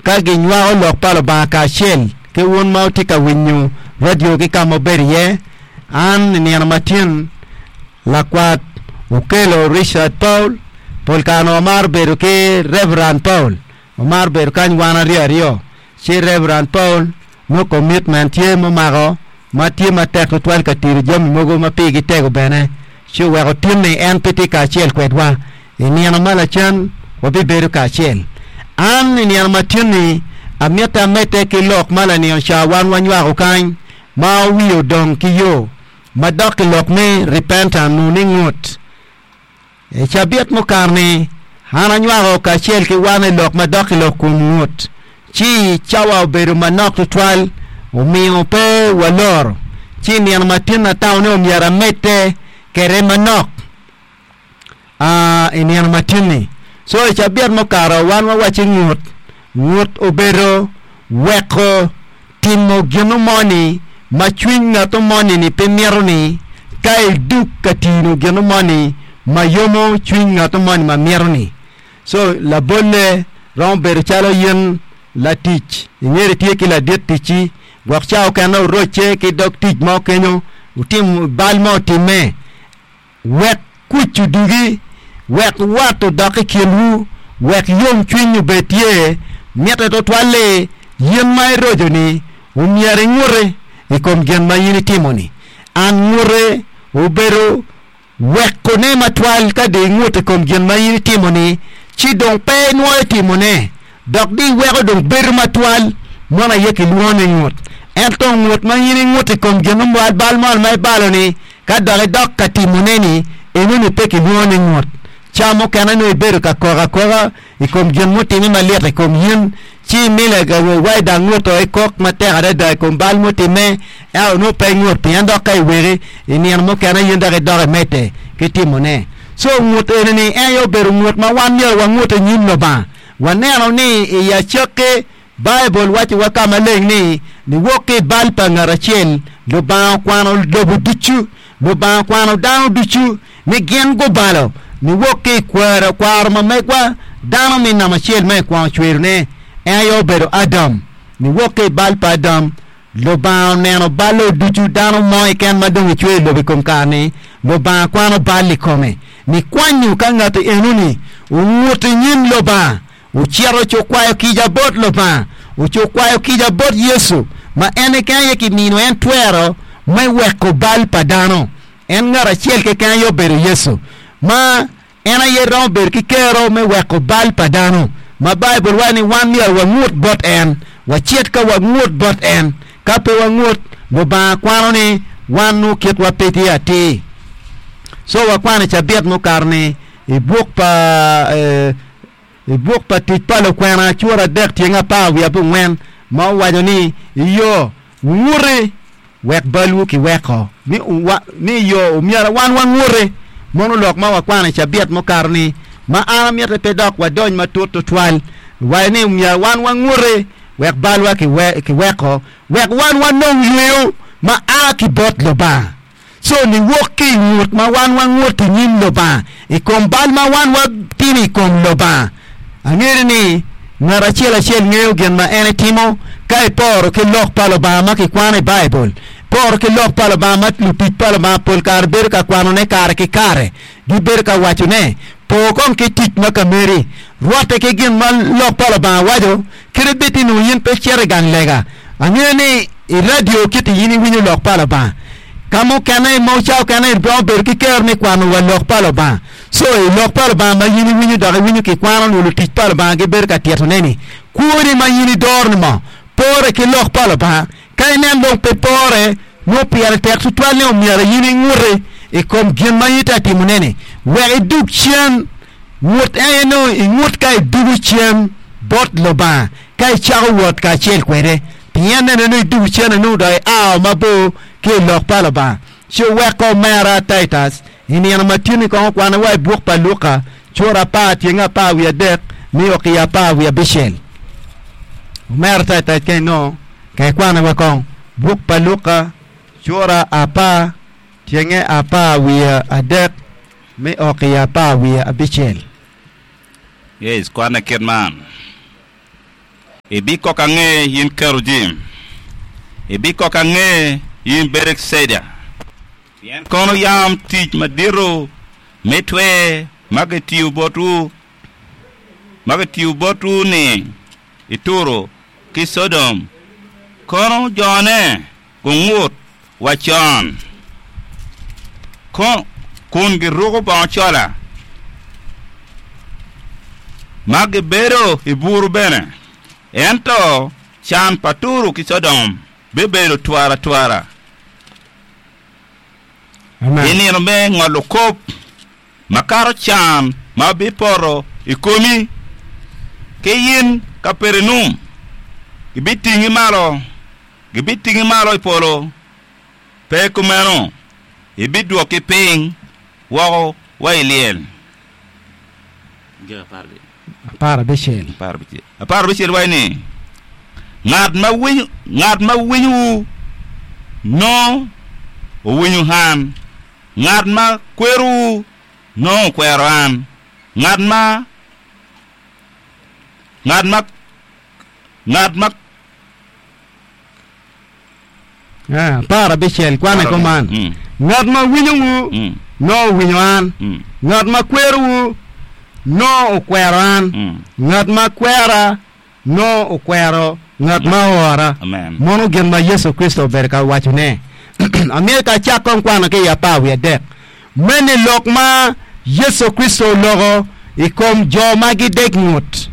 ka ginywako lok pa Lubanga kacel ki wun ma wutye ka winyo radio ki ka ma wubedo iye. An i nino matin lakwat Okello Richard Paul, pol kare onongo amaro bedo ki Reverend Paul, wamaro bedo kany wan aryo aryo, ci Reverend Paul nongo commitment tye mumako ma tye matek tutwal ka tiro jami mogo ma pigi tego bene, ci oweko tin-ni en pe tye kacel kwedwa. I nino ma lacen wabibedo kacel. An i nino ma tin-ni amito amedde ki lok ma lanino ca wan wanywako kany ma wiye odong ki yo ma dok i lok me repentant nongo ni ngut. I cabit mukato-ni, an anywako kacel ki wan i lok ma dok i lok kom ngut, ci cawa obedo manok tutwal omiyo pe waloro. Ci i nino ma tin atamo ni omyero amedde kwede manok. I nino ma tin-ni. Co i cabit mukato wan wawacci ngut. Ngut obedo weko timo gin moni ma cwiny ngat moni-ni pe mito ni ka idug ka tino gin moni ma yomo cwiny ngat moni ma mito-ni. Co labolle romo bedo calo in latic ingeto itye ki ladit ticci gwok ca okene orocce ki dog tic mo kenyo otimo bal mo otimme. Wek kuc odugi, wek wat odok i kinwu, wek yomcwiny obed tye. Mitte tutwal-li, in ma iroco-ni omyero inguti i kom gin ma in itimo-ni. An nguti obedo wekone matwal ka dong ingut i kom gin ma in itimo-ni, ci dong pe inwoyo timone, dok dong iweko dong bedo matwal. Meno aye kilwongo ni ngut. Ento ngut ma in ingut i kom gin mo, bal mo ma ibalo-ni, Ka dok idok ka timone-ni, enoni pe kilwongo ni ngut. Ca mukene nongo ibedo ka kok akoka i kom gin mutimme malit i kom in, ci imile wa dang nguto ikok matek adada i kom bal mutimme, ento nongo pe ingut pien dok ka iweki i nino mukene in dok idok imedde ki timone. Co ngut enoni en aye obedo ngut ma wan myero wangut i nyim Lubanga. Waneno ni i acakki Baibul wacciwa ka maleng ni, Niwok ki i bal pa ngat acel, Lubanga okwano lobo ducu, Lubanga okwano dano ducu ni gin gubalo, niwok ki i kwero kwaro ma megwa, dano me namba acel ma ekwongo cwerone, en aye obedo Adam. Niwok ki i bal pa Adam, Lubanga oneno balle ducu, dano mo keken ma dong ecweyo i lobo i kom kare-ni, Lubanga kwano bal i kome, nikwanyo ka ngati enoni ongut i nyim Lubanga. Ocito ocukwayo kica bot Lubanga, ocukwayo kica bot Yecu, ma en keken aye kimino en twero me weko bal pa dano. En ngat acel keken aye obedo Yecu, ma en aye romo bedo ki kero me weko bal pa dano, ma Baibul waco ni wan myero wangut bot en, wacit ka wangut bot en. Ka pe wangut, Lubanga kwano ni wan nongo kitwa pe tye atir. Co wakwano i cabit mukato-ni i buk pa I buk pa Tic pa Lukwena cura adek tyeng apar wiye abongwen ma owaco ni, Iyo, wunguti wek balwu kiweko. Ni, ni iyo, omyero wan wanguti. Mono lok ma wakwano i cabit mukato-ni, ma an amiti pe dok wadony matut tutwal, waco ni omyero wan wanguti wek balwa kiweko, wek wan wanong yweyo ma a ki bot Lubanga. Co niwok ki i ngut ma wan wangut i nyim Lubanga i kom bal ma wan watimo i kom Lubanga. Angeyo ni ngat acel acel ngeyo gin ma en etimo ka iporo ki Lok pa Lubanga ma kikwano i Baibul. Iporo ki Lok pa Lubanga ma lutic pa Lubanga pol kare bedo ka kwanone kare ki kare. Gibedo ka wacone, Por kong ki tic ma ka meri. Rwatte ki gin ma Lok pa Lubanga waco, kadi bed ni nongo in pe icito i gang lega. Angeyo ni i radio kit in iwinyo Lok pa Lubanga. Ka mukene, mo ca okene iromo bedo ki kero me kwano wa Lok pa Lubanga. Co, i Lok pa Lubanga ma in iwinyo dok iwinyo kikwano nyo lutic pa Lubanga gibedo ka titone ni, kwoni ma in idoro ni mo pore ki Lok pa Lubanga. Ka inen dong pe pore, nongo pire tek tutwal ni omyero in inguti i kom gin ma in itye ka timone-ni wek idug cen. Ngut en aye nongo ingut ka idugo cen bot Lubanga ka icako wot kacel kwede. Pien nene nongo idugo cen nongo dok iao mabor ki i lok pa Lubanga. Ci oweko omera Titus i nino ma tin-ni kong okwane wa i buk pa Luka cura apar tyeng apar wiye adek nio ki apar wiye abicel. Omera Titus ka inongo ka ikwane wa kong buk pa Luka cura apar tyenge apar wiye adek me ok i apar wiye abicel. Yes, kwanne kit man. Ibikok ange in Kerujim, ibikok ange in Betecida, pien kono yam tic madito me twer ma gitiyo botwu, ma gitiyo botwu-ni i Turo ki Codom, kono jone gungut wa con, kun giruko bongo cola, ma gibedo i buru bene. Ento can pa Turo ki Codom bibedo twara twara i nino me ngolo kop, makato can ma bipoto i komi ki in Kapernaum. Gibitingi malo. Gibitingi malo i polo, pe kumeno, ibidwoki piny woko wa i lyel. 16 waco ni, Ngat ma winyo, ngat ma winyowu nongo owinyo an, ngat ma kwerowu nongo okwero an, ngat ma, ngat ma, ngat ma. 16 kwane kuman, Ngat ma winyowu nongo owinyo an, ngat ma kwerowu nongo okwero an, ngat ma kwera nongo okwero ngat ma oora. Mono gin ma Yecu Kricito obedo ka wacone. Amito ka acak kong kwano ki i 13. Meno lok ma Yecu Kricito oloko i kom jo ma gidek ngut.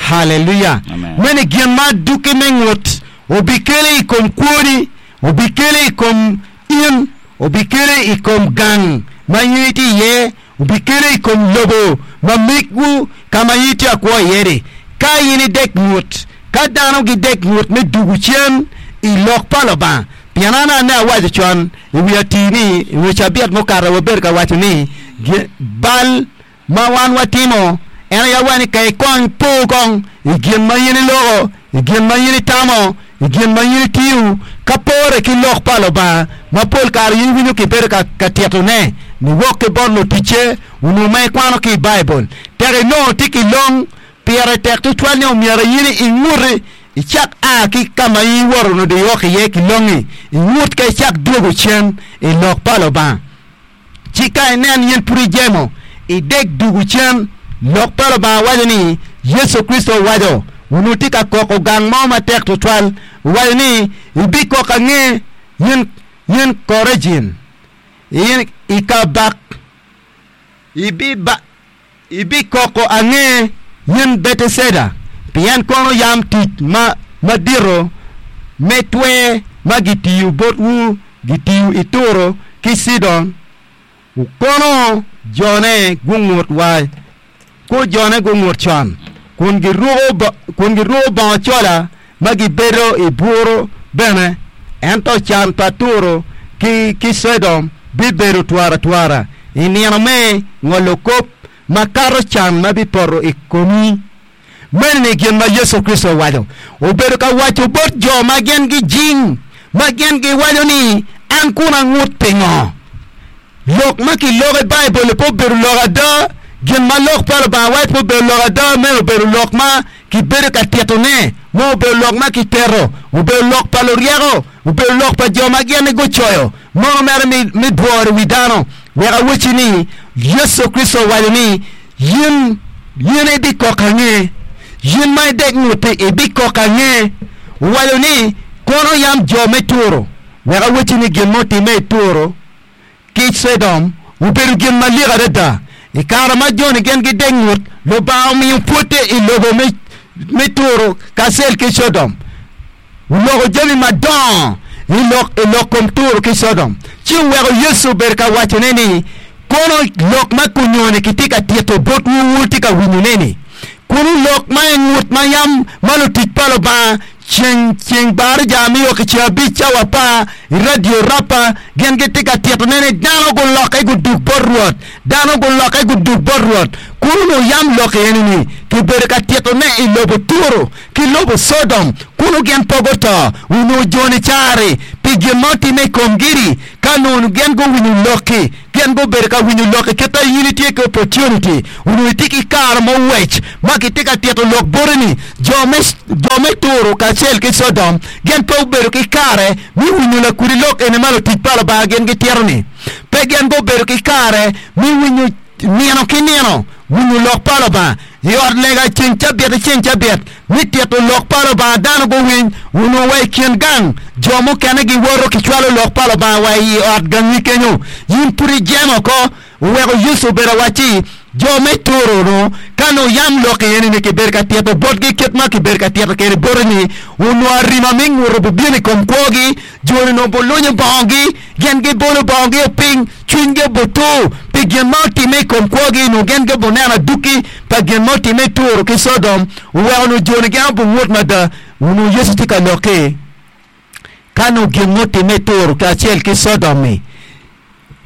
Haleluya! Meno gin ma adwogi me ngut obikelo i kom kwoni, obikelo i kom in, obikelo i kom gang ma in itye iye, obikelo i kom lobo ma megwu ka ma in itye ka kwo iye-ni. Ka in idek ngut, ka dano gidek ngut me dwogo cen i lok pa Lubanga, Pien an ane awaco con i wi atir ni, i wi cabit mukato wabedo ka waco ni, bal ma wan watimo en aye awaco ni ka ikony po kong i gin ma in iloko, i gin ma in itamo, i gin ma in itiyo, ka pore ki lok pa Lubanga ma pol kare in iwinyo kibedo ka titone niwok ki bot luticce onongo ma ikwano ki i Baibul. Tek inongo tye ki long Pire tek tutwal ni omyero in inguti icak a ki ka ma in iwoto onongo iok iye ki longi, ingut ka icak dwogo cen i lok pa Lubanga. Ci ka inen in pud ijemo, idek dwogo cen. Lok pa Lubanga waco ni, Yecu Kricito owaco, onongo tye ka koko gang mo matek tutwal, owaco ni, Ibikoko ange, in, in Korejin, in i kabak, ibiba. Ibikoko ange, in Beteceda, pien kono yam tic ma madito me twer ma gitiyo botwu gitiyo i Turo ki Cidon, kono jone gungut wa, ko jone gungut con, kun giruko bongo cola ma gibedo i buru bene. Ento can pa Turo ki Cidon bibedo twaratwara i nino me ngolo kop makato can ma bipoto i komi. Meno-ni gin ma Yecu Kricito owaco. Obedo ka waco bot jo ma gin gijing, ma gin giwaco ni, An kun angut pingo? Lok ma kiloko i Baibul-li pe obedo lok ada. Gin ma Lok pa Lubanga waco pe obedo lok ada. Meno obedo lok ma kibedo ka titone, mo obedo lok ma kiteto, obedo lok pa luryeko, obedo lok pa jo ma gin gucoyo, mono mere me dworo i wi dano. Wek awacci ni, Yecu Kricito owaco ni, In, in ibikoko ange, in ma idek ngut-ti ibikoko ange. Owaco ni, Kono yam jo me Turo Wek awacci ni gin ma otimme i Turo ki Codom obedo gin malik adada. I kare ma joni gin gidek ngut, Lubanga omiyo pwodde i lobo me Turo kacel ki Codom. Oloko jami madongo i lok kom Turo ki Codom, ci oweko Yecu obedo ka wacone ni, Kono lok ma kunyoni kitye ka tito botwu wutye ka winyone-ni, kunu lok ma i ngut ma yam ma lutic pa Lubanga Ceng ceng baraja me o ki ceng abic cawa apar i radio Rapa gin gitye ka titone ni dano gulokke gudug bot Rwot, dano gulokke gudug bot Rwot. Kunu yam lok eni ni kibedo ka titone i lobo Turo ki lobo Codom kunu gin pe guto. Onongo joni cari pi gin ma otimme i komgi-ni ka onongo gin guwinyo lokki. Gin gubedo ka winyo lok i kit ma in itye ki opportunity, onongo itye ki kare mo wec ma kitye ka tito lok boti ni jo me jo me Turo kacel ki Codom gin pe gubedo ki kare me winyo lakudi lok eni ma lutic pa Lubanga gin gitito ni. Pe gin gubedo ki kare me winyo nino ki nino winyo lok pa Lubanga i ot lega ceng cabit ki ceng cabit me tito lok pa Lubanga dano guwiny. Onongo wa i kin gang jo mukene giwoto kicwalo lok pa Lubanga wa i ot gangi kenyo. In pud ijemo oko. Oweko Yecu obedo awacci, Jo me Turo-nu, ka nongo yam lok eni-ni kibedo ka tito botgi kit ma kibedo ka tito kwede boti-ni, onongo arima me nguto bibino i kom kwogi, jo-ni onongo bulunyo bongogi, gin gibolo bongogi piny, cwinygi obutur pi gin ma otimme i kom kwogi, onongo gin gibineno adwogi pa gin ma otimme i Turo ki Codom, oweko onongo jo-ni gin obungut mada. Onongo Yecu tye ka lok-ki, ka nongo gin ma otimme i Turo kacel ki Codom-mi,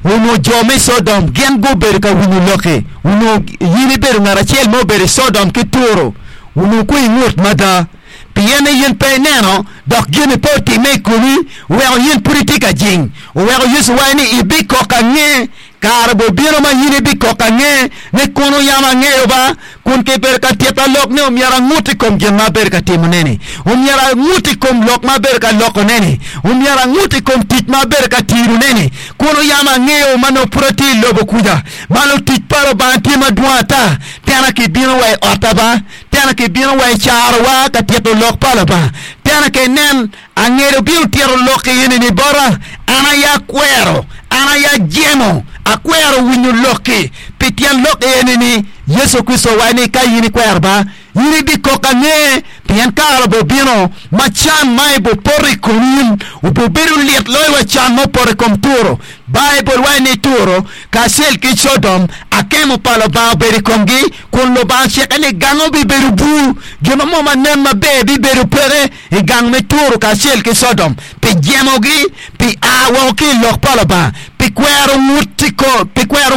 Onongo jo me Codom gin gubedo ka winyo lokki. Onongo in ibedo ngat acel ma obedo i Codom ki Turo. Onongo kwo ingut mada. Pien ni in pe ineno, dok gin-ni pe otimme i komi, oweko in pud itye ka jing. Oweko Yecu owaco ni, Ibikok ange. Kare bibino ma in ibikok ange ni, 'Kono yam angeyo ba, kun kibedo ka tita lok ni omyero angut i kom gin ma abedo ka timone-ni, omyero angut i kom lok ma abedo ka lokone-ni, omyero angut i kom tic ma abedo ka tirone-ni. Kono yam angeyo ma nongo pud atye i lobo kuca, ma lutic pa Lubanga tye madwong ata, tena kibino wa i otta ba, tena kibino wa i carowa ka tito lok pa Lubanga, tena ka inen Angelo bino tito lok eni-ni bota, an aye akwero, an aye ajemo, akwero winyo lokki. Pi tyen lok eni-ni, Yecu Kricito owaco ni, Ka in ikwero ba, in ibikok ange, pien kare obibino ma can ma ibipoto i kom in obibedo lit loyo wa can ma opoto i kom Turo. Baibul waco ni Turo kacel ki Codom, akemo pa Lubanga obedo i komgi, kun Lubanga ocikke ni gange obibedo bur, gin mo ma nen maber bibedo peke. i gang me Turo kacel ki Codom pi jemogi, pi a woko ki i lok pa Lubanga, pi kwero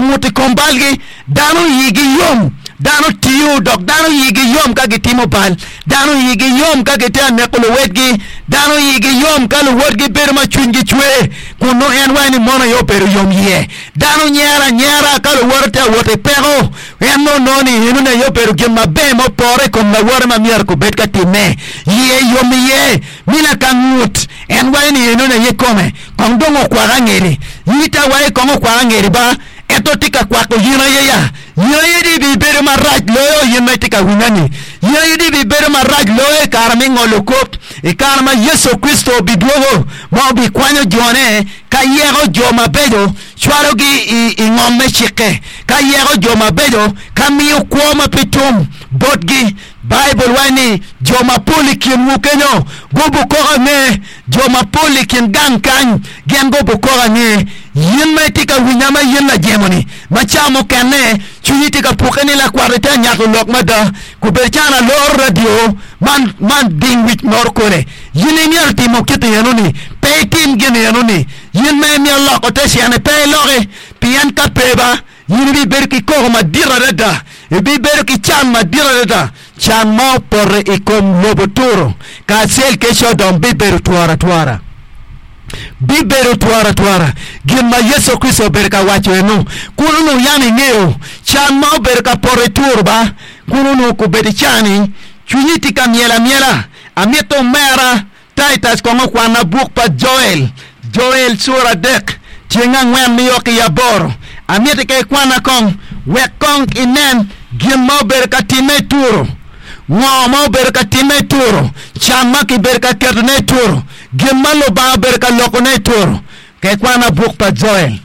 ngut i kom balgi. Dano igi yom, dano tiyo, dok dano igi yom ka gitimo bal. Dano igi yom ka gitye ka neko luwetgi. Dano igi yom ka luwotgi bedo ma cwinygi cwer, kun nongo en waco ni mono aye obedo yom iye. Dano nyero anyera ka luwote tye ka wot i peko. En nongo nongo ni enoni aye obedo gin maber ma opore i kom lawote ma myero kubed ka timme. Iye yom iye, mina ka ngut. En waco ni enoni aye kome. Kong dong okwak angeri. In ite awaco kong okwak angeri ba, ento tye ka kwako in aye ya. In aye dong ibibedo marac loyo in ma itye ka winya-ni. In aye dong ibibedo marac loyo i kare me ngolo kop, i kare ma Yecu Kricito obidwogo ma obikwanyo jone ka yeko jo mabeco cwalogi i ngom me cikke, ka yeko jo mabeco, ka miyo kwo ma pe tum botgi. Baibul waco ni, Jo mapol i kinwu kenyo gubukoko ange, jo mapol i kin gang kany gin gubukoko ange. Yin ma itye ka winya ma in lajemo-ni, ma ca mukene cwinyi tye ka pukke ni lakwat itye ka nyato lok mada, kubed calo aloro radio man man ding wic moro kole. Yin imyero timo kit enoni, pe itim gin enoni. In ma imito loko te cene, pe iloki, pien ka pe ba, in ibibedo ki koko madit adada, ibibedo ki can madit adada. Can ma opoto i kom lobo Turo kacel ki Codom bibedo twora twora. Bibedo twora twora. Gin ma Yecu Kricito obedo ka waco eno, kun onongo yam ingeyo can ma obedo ka poto i Turo ba, kun onongo kobedo i cani, cwinyi tye ka myel amyela. Amito omera Titus kong okwanna buk pa Joel, Joel cura adek, tyeng angwen nio ki aboro. Amiti ka ikwanna kong, wek kong inen gin ma obedo ka timme i Turo. Ngo ma obedo ka timme i Turo? Can ma kibedo ka ketone i Turo. Gin ma Lubanga obedo ka lokone i Turo. Ka ikwanna buk pa Joel.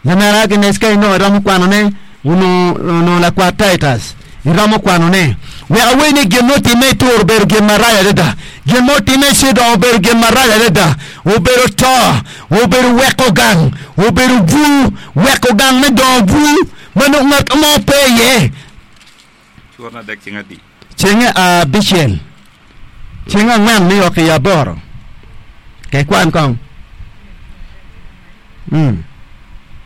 Lamera Agnes ka inongo iromo kwanone, onongo lakwat Titus, iromo kwanone. Wek awec ni gin ma otimme i Turo obedo gin marac adada. Gin ma otimme i Cidon obedo gin marac adada. Obedo to, obedo weko gang, obedo bur, weko gang me dongo bur ma nongo ngat mo pe iye. Ceng abicel, ceng angwen nio ki aboro. Ka ikwan kong. Mm.